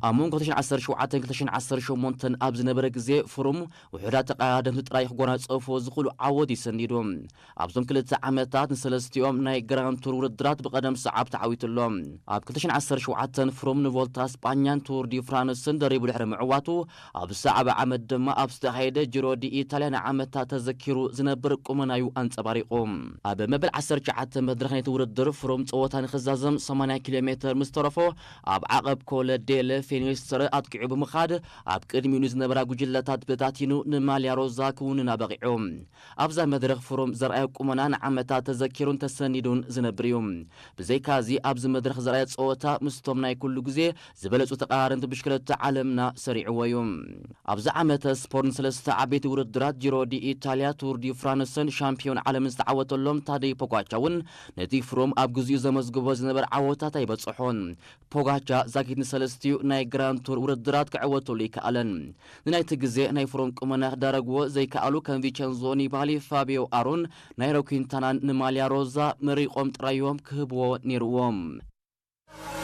ኣብ መንጎ ክልተ ሽሕን ዓሰርተ ሸውዓተን ክልተ ሽሕን ዓሰርተ ሸሞንተን ኣብ ዝነበረ ግዜ ፍሩም ውሑዳት ተቐዳደምቲ ጥራይ ክጎናጸፉ ዝኽእሉ ዓወት እዩ ሰኒዱ። ኣብዞም ክልተ ዓመታት ንሰለስቲኦም ናይ ግራንድ ቱር ውድድራት ብቐደም ሰዓብ ተዓዊቱ ኣሎ። ኣብ ክልተ ሽሕን ዓሰርተ ሸውዓተን ፍሩም ንቮልታ ስጳኛን ቱር ዲ ፍራንስን ደሪቡ ድሕሪ ምዕዋቱ፣ ኣብ ሰዓብ ዓመት ድማ ኣብ ዝተኻየደ ጂሮ ዲ ኢታልያ ንዓመታት ተዘኪሩ ዝነብር ቁመናዩ ኣንጸባሪቑ። ኣብ መበል ዓሰርተ ትሽዓተ መድረኽ ናይቲ ውድድር ፍሩም ጸወታ ንኽዛዘም ሰማንያ ኪሎ ሜትር ምስ ተረፎ፣ ኣብ ዓቐብ ኮለ ዴለ ፌኒስትረ ኣጥቂዑ ብምኻድ፣ ኣብ ቅድሚኡ ንዝነበራ ጉጅለታት በታቲኑ ንማልያ ሮዛ ክውንና በቒዑ። ኣብዛ መድረኽ ፍሩም ዘርኣዮ ቁመና ንዓመታት ተዘኪሩን ተሰኒዱን ዝነብር እዩ። ብዘይካዚ ኣብዚ መድረኽ ዘርኣዮ ጸወታ ምስቶም ናይ ኩሉ ግዜ ዝበለጹ ተቐራረንቲ ብሽክለታ ዓለምና ሰሪዕዎ እዩ። ኣብዚ ዓመተ ስፖርት ንሰለስተ ዓበይቲ ውድድራት ጂሮ ዲ ኢታልያ፣ ቱር ዲ ፍራንስን ሻምፒዮን ዓለምን ዝተዓወተሎም ታደይ ፖጋቻ እውን ነቲ ፍሩም ኣብ ግዜኡ ዘመዝግቦ ዝነበረ ዓወታት ኣይበጽሖን። ፖጋቻ ዛጊት ንሰለስቲኡ ናይ ግራንድ ቱር ውድድራት ክዕወተሉ ኣይከኣለን። ንናይቲ ግዜ ናይ ፍሩም ቁመና ክዳረግዎ ዘይከኣሉ ከም ቪቸንዞ ኒባሊ፣ ፋቢዮ ኣሮን፣ ናይሮ ኲንታናን ንማልያ ሮዛ መሪቖም ጥራዮም ክህብዎ ነይርዎም።